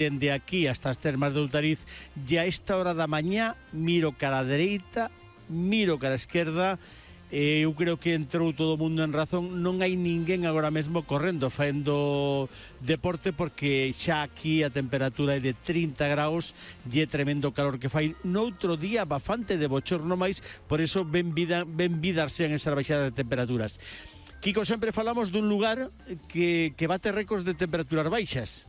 dende aquí hasta as termas de Outariz, e a esta hora da mañá miro cara a dereita, miro cara a esquerda, eu creo que entrou todo o mundo en razón. Non hai ninguén agora mesmo correndo, faendo deporte, porque xa aquí a temperatura é de 30 graus e é tremendo calor que fai. Noutro día bastante de bochorno máis, por iso ben vidas sean esas baixadas de temperaturas. Kiko, sempre falamos dun lugar que bate récords de temperaturas baixas,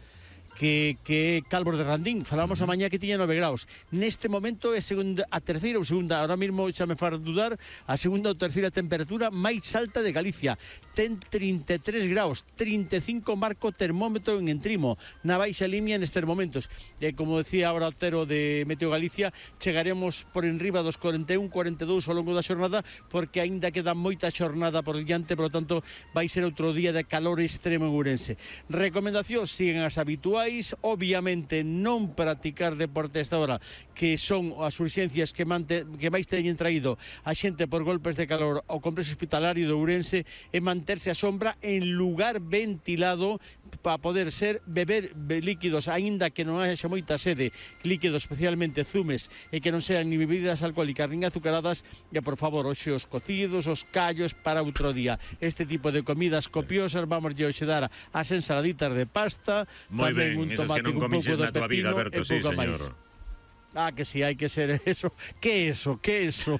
que é Calvos de Randín. Falábamos a mañá que tiña 9 graus. Neste momento é a terceira ou segunda, ahora mesmo xa me faz dudar, a segunda ou terceira temperatura máis alta de Galicia. Ten 33 graus, 35 marco termómetro en Entrimo, na baixa línea nestes momentos. E como decía ahora Otero de Meteo Galicia, chegaremos por enriba dos 41, 42 ao longo da xornada, porque aínda queda moita xornada por diante, por lo tanto vai ser outro día de calor extremo en Ourense. Recomendacións siguen as habituais, obviamente non practicar deporte a esta hora, que son as urxencias que máis teñen traído a xente por golpes de calor ao complexo hospitalario de Ourense, e manterse a sombra en lugar ventilado para poder beber líquidos, aínda que non haxa moita sede, líquidos especialmente zumes, e que non sean ni bebidas alcohólicas nin azucaradas, e por favor, hoxe os cocidos, os callos para outro día. Este tipo de comidas copiosas, vamos hoxe dar as ensaladitas de pasta, moi ben, un esas que non tomate, comixes un pouco na tua vida, Alberto, sí, señor. Máis. Que sí, hai que ser eso. Que eso? Que eso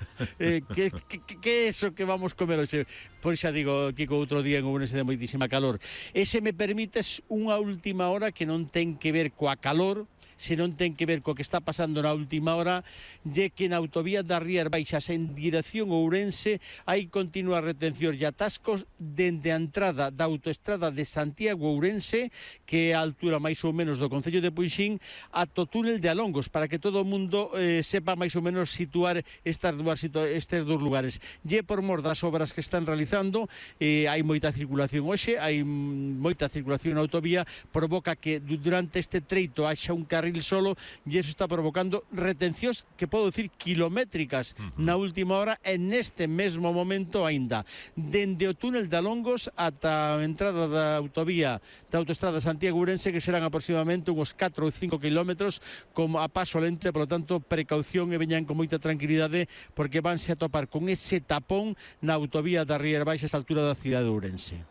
que vamos comer hoxe? Pois xa digo, Kiko, outro día en Ourense de moitísima calor. E se me permites unha última hora que non ten que ver coa calor, senón ten que ver co que está pasando na última hora, e que na autovía das Rías Baixas en dirección Ourense hai continuas retencións e atascos dende a entrada da autoestrada de Santiago Ourense, que é a altura máis ou menos do concello de Puixín, ata o túnel de Alongos, para que todo o mundo sepa máis ou menos situar estes dous lugares. E por mor das obras que están realizando, hai moita circulación hoxe, hai moita circulación na autovía, provoca que durante este treito haxa un carril solo, e eso está provocando retencións que podo decir kilométricas na última hora, e neste mesmo momento aínda dende o túnel de Alongos ata a entrada da autovía da autoestrada Santiago Ourense, que serán aproximadamente uns 4 ou 5 kilómetros como a paso lento, por lo tanto precaución, e veñan con moita tranquilidade, porque vanse a topar con ese tapón na autovía das Rías Baixas a altura da cidade de Ourense.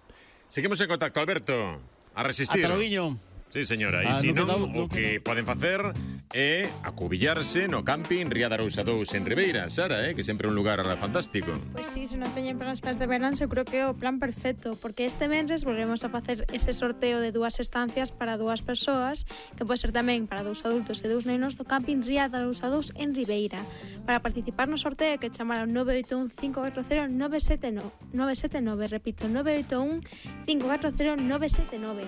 Seguimos en contacto, Alberto. A resistir. Ata logo. Sí, señora, e se non, o que poden facer é acubillarse no camping Ría de Arousa 2 en Ribeira, Sara, que sempre é un lugar fantástico. Pois sí, se non teñen planes para este verán, eu creo que é o plan perfecto, porque este venres volvemos a facer ese sorteo de 2 estancias para 2 persoas, que pode ser tamén para 2 adultos e 2 nenos, no camping Ría de Arousa 2 en Ribeira. Para participar no sorteo, que chamar ao 981 540 979, repito, 981 540 979.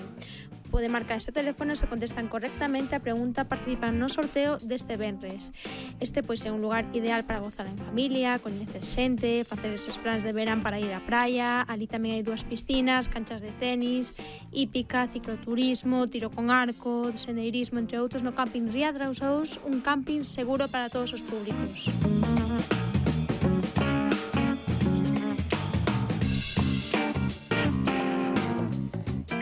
Pode marcar este teléfono se contestan correctamente a pregunta, participan no sorteo deste venres. Este pois é un lugar ideal para gozar en familia, coñecer xente, facer eses plans de verán para ir á praia. Ali tamén hai 2 piscinas, canchas de tenis, hípica, cicloturismo, tiro con arco, sendeirismo, entre outros, no camping Ría de Arousa 2, un camping seguro para todos os públicos.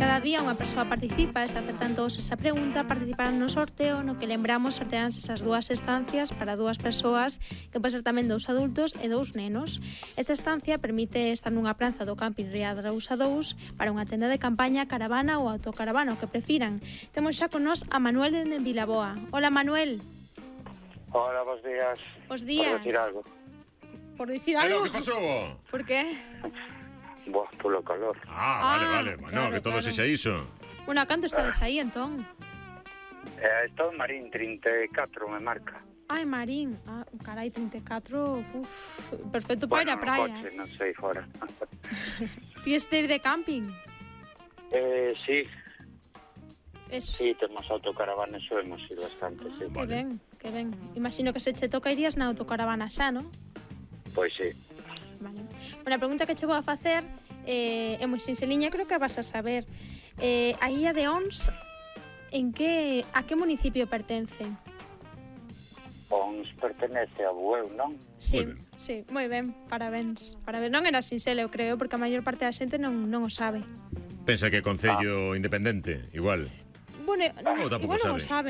Cada día unha persoa participa, e se acertan todos esa pregunta, participarán no sorteo, no que lembramos sortearánse esas 2 estancias para 2 persoas, que pode ser tamén 2 adultos e 2 nenos. Esta estancia permite estar nunha praza do camping Ría de Arousa 2 para unha tenda de campaña, caravana ou autocaravana, o que prefiran. Temos xa con nós a Manuel de Vilaboa. Hola, Manuel. Hola, bos días. Bos días. Por decir algo. Por dicir algo? Que pasou? Por qué? Boa, polo calor. Vale. Bueno, claro, que todo sexa iso. Bueno, canto estades aí, entón? Estou en Marín, 34 me marca. Ai, Marín. Carai, 34. Perfecto para ir á praia. Bueno, coche, non sei, fora. Ti estes de camping? Sí. Eso. Sí, temos autocaravanas, subimos ir bastante, sí. Que ben. Imagino que se che toca irías na autocaravana xa, non? Pois sí. Vale. Bueno, a pregunta que che vou a facer é moi sinxeliña, creo que vas a saber. A Illa de Ons, a que municipio pertence? Ons pertenece a Bueu, non? Sí, moi ben, parabéns. Non era sinxelo, eu creo, porque a maior parte da xente non o sabe. Pensa que é concello independente, igual. Bueno, Ou tampouco igual non o sabe. sabe.